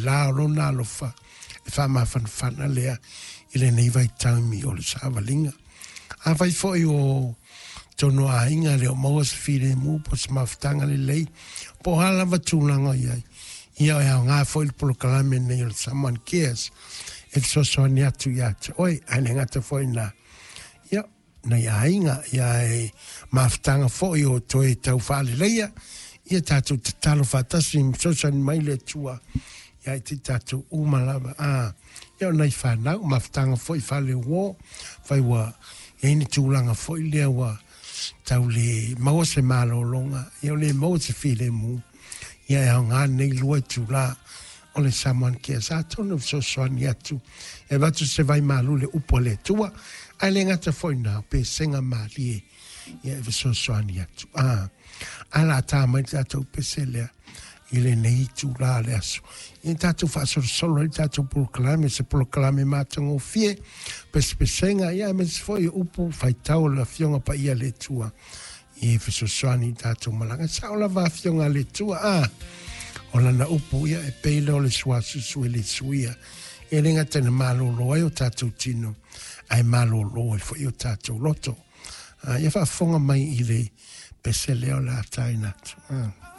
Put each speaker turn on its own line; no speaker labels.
la o lona alofa e faamafanafana lea i lenei vaitaimi o le savaliga. Afai foi o tonu aiga le o maua se filemu po o se mafutaga lelei po o a lava tulaga o i ai, ia e aoga foi le polokalame lenei o le Someone Cares e fesoasoani atu ia te oe, ae le gata foi i lena, ia, nai aiga, ia e mafutaga foi o toe tau faaleleia, ia tatou tatalo faatasi ma fesoasoani mai le Atua ia i te tatou uma lava. A, ia o nai fanau, mafutaga foi faaleuo, fai ua i ai ni tulaga foi lea ua tau le maua se malologa, ia o le maua se filemu, ia e aoga lenei 2 itula o le Someone Cares. Atonu e fesoasoani atu e avatu se vaimalu i le upu a le Atua, ae le gata foi i lena, o pesega malie ia e fesoasoani atu. A, a la tā mai le tatou pese lea i lenei itula o le aso. Ia tatou faasolosolo ai le tatou polokalame, se polokalame matagofie, pesepesega, ia aemaise foi o upu faitau o le Afioga Paia a le Atua e fesoasoani i tatou malaga. E sao lava Afioga a le Atua, a o lana upu ia e pei lea o le suasusu e le suia. E le gata ina malolo ai o tatou tino, ae malolo ai foi o tatou loto. Ia faafofoga mai i le pese lea o le a taina atu.